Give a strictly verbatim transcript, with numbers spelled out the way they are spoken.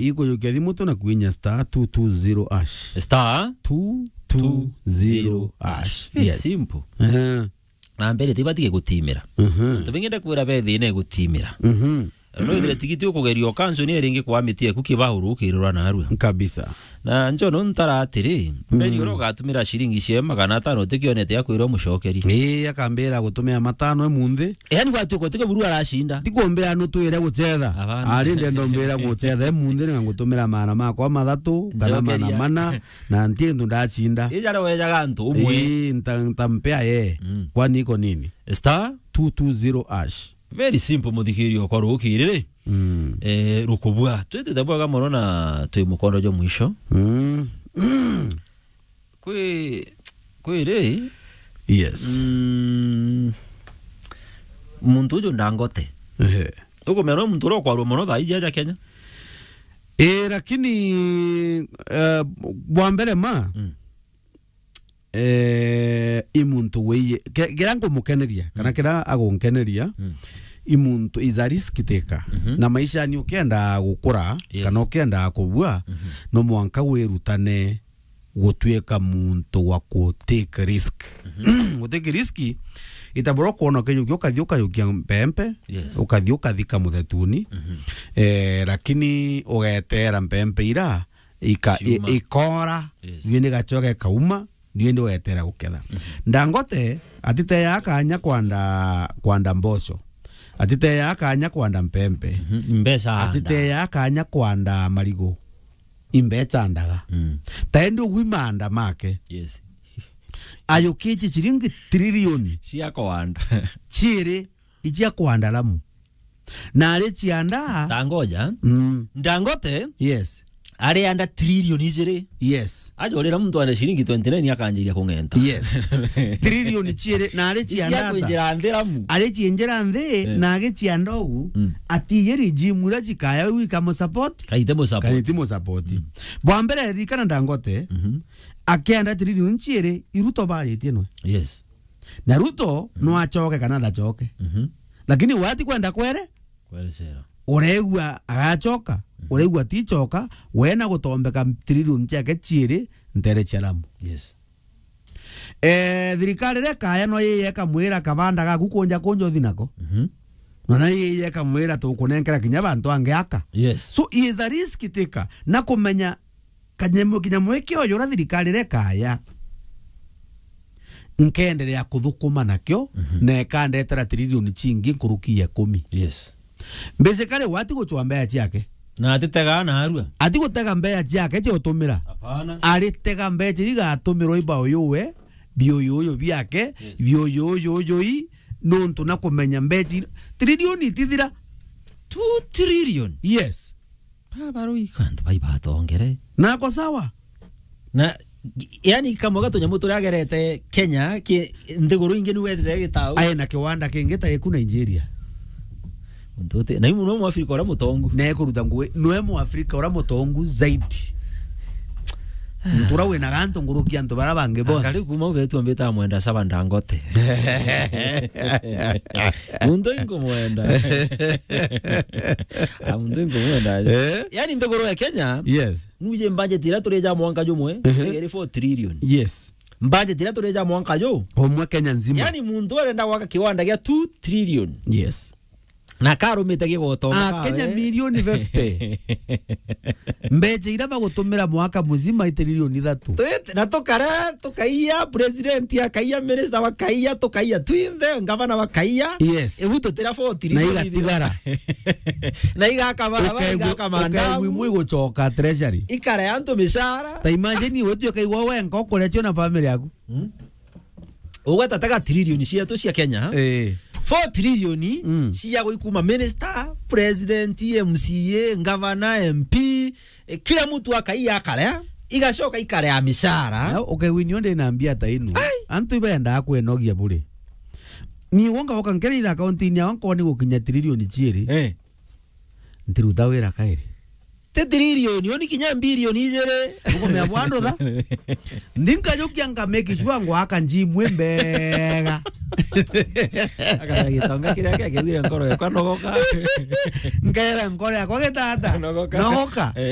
ikujukia thimu tu na kuinya star two two zero hash. Star two two zero hash. Very simple. Eh. Na mbere tibatige gutimira. Mhm. Antu bengi ndakwira be thina igutimira. Mhm. No ithire tigiti ukugeria ukansu ni ringi kwa miti eku kibauru ukirura narua. Kabisa. Na njo no ntara atiri, mberi ura ugatumira ciringi cia magana atano utikionete akwirwa mucokeri. Ii, akambira gutumira matano emunthi. Yaani gwatuika utike buru aracinda. Tikumbea nutwire gucetha. Abana. Ari ndendo mbira gucetha emunthi ni ngutumira maana makwa mathatu kana maana mana na nti ndu ndacinda. Ija wejaga antu umwe. Ii, nta-, ntampea ye. Mm. Kwani iko nini? Star two two zero hash. Very simple, muthikiria okwa rukiri ri. Mm. Eh, rukubua. Twitite bwega mono na twi mukondo jwa mwisho. Mm. Kwi, kwi ri? Yes. Mm. Muntu uju Ndangote. Ehe. Ukumenya no muntu uria ukwarua mono thaa iji aja Kenya? Eh, lakini, eh, bwa mbere ma, mm. Eh, i muntu wiye, ke-, kira ngumukeneria, kana mm. kira agunkeneria, mm. i muntu is a risk taker. Mhm. Na maisha ni ukienda gukura, yes. kana ukienda kubua, mhm. no mwanka wirutane gutuika muntu wa ku take risk. Mhm. Gu take risk, itabura kwona ukiyukia, ukathi ukayukia mpempe, yes. ukathi ukathika muthetuni, mhm. eh, lakini ugetera mpempe ira, ika-, i-, Ciuma. ikora, yes. thiini gacoke kauma, thiini wetera guketha. Mhm. Ndangote atiteyaa kanya kwanda, kwanda mboco. Atiteyaa kanya kwanda mpempe. Mhm. Mbeca anda. Atiteyaa kanya kwanda marigu. Imbeca ndaga. Mm. Taendi ugwi maanda make. Yes. Ayukitie ciringi trilioni. Cia kwanda. Ciiri icia kwanda Lamu. Na ari cianda. Tangoja. Mm. Ndangote. Yes. Ari anda trilioni ijiri. Yes. Aja urira muntu ane ciringi twenty nine akanjiria kung'enta. Yes. Trilioni ciiri na ari cianda ata? Kwinjira nthi Lamu. Ari ciinjira nthi, eh. na agi cianda ugu, mm. ati ye regime ira cikaya u ikamusupport? Kaite musupport. Kaite musupport. Mm. Bwa mbere ririkana Ndangote, mhm. akienda trilioni ciiri, i Ruto baritie nwe. Yes. Na Ruto mm. no acoke kana ndacoke. Mhm. Lakini we ati kwenda kwere? Kwerecera. Uregua agacoka, mhm. uregua ticoka, we na gutombeka trilioni ciake ciiri ntere cia Lamu. Yes. Eh, thirikari ria kaya no yiye ikamwira kabanda gaku kunja kunja uthi nako. Mhm. Na no yiye ikamwira tukunenkera kinya bantu angi aka. Yes. So, he is a risk taker. Na kumenya kanyamo, kinyamo iki oyo ura thirikari ria kaya. Nkenderea kuthukuma nakio, mhm. na ikandetera trilioni cingi nkuruki ya ikumi. Yes. Basically, we ati gucwa mbeca ciake. Na atitega na arua. Ati gutega mbeca ciake cia utumira. Hapana. Aritega mbeca iria igatumirwa i bauyuwe, biuyuyu biake, yes. biuyuyuyui, nontu na kumenya mbeca iria, trilioni itithira. Two trillion? Yes. Baba rui, antu bai batongere. Nako sawa. Na, yani, kamwe ga tunyamu turia agerete Kenya, ki, nthiguru ingi ni wethire gitau. Ae na kiwanda kingi ta giku Nigeria. Muntu uti, na imu no Mwafrika uria mutongu. Na ekuruta ngui, nwe Mwafrika uria mutongu zaidi. Muntu uria wina gantu nguruki antu baria bangi bonthe. Akari kuma ubetu ambita amwenda saba Ndangote. Muntu inkumwenda. Ah, muntu inkumwenda. Eh? Yani, nthiguru ya Kenya, yes. Nuje budget iria turija mwanka jumwe, mhm. iri four trillion. Yes. Budget iria turija mwanka ju. Umwe Kenya nzima. Yani, muntu arenda gwaka kiwanda gia two trillion. Yes. Na karumite gigotonga. Ah, kawe. Kenya milioni fifty. Mbeca iria bagutumira mwaka muzima i trilioni ithatu. Twit-, na tukara, tukaiya, president akaiya, minister bakaiya, tukaiya twinthe, ngavana bakaiya. Yes. Ibu tutira four trillion. Na igatigara. Na igaka barabara, ukaigua, igaka mandamu. Ukaigua imwe igucoka treasury. Ikare antu micara. Ta imagine we tu ukaigua we nko kuria cio na family yaku. Hmm? Ugweta tega trilioni cietu cia Kenya, eh. Four trilioni mm. cia gwi kuma minister, president, M C A, governor, M P, eh, kila mtu akaiya akarea, igacoka ikarea micara. Na ukegwinio ndi na mbia ta inu. Ai! Antu ibendaa kwenogia bure. Ni wonga woka nkere itha akaunti-ini yawa nkoni gukinya trilioni ciiri. Eh. Ntiruta wira kairi. Ti trilioni, oni kinya bilioni ijiri. Ukumea bwandu tha? Ndi nkajukia nka make sure ngwaka njimwe mbega. Akara gitonga kiria kia kigwire nkoro yakwa nogoka. Nkera nkoro yakwa gitata. Nogoka. Nogoka. Eh.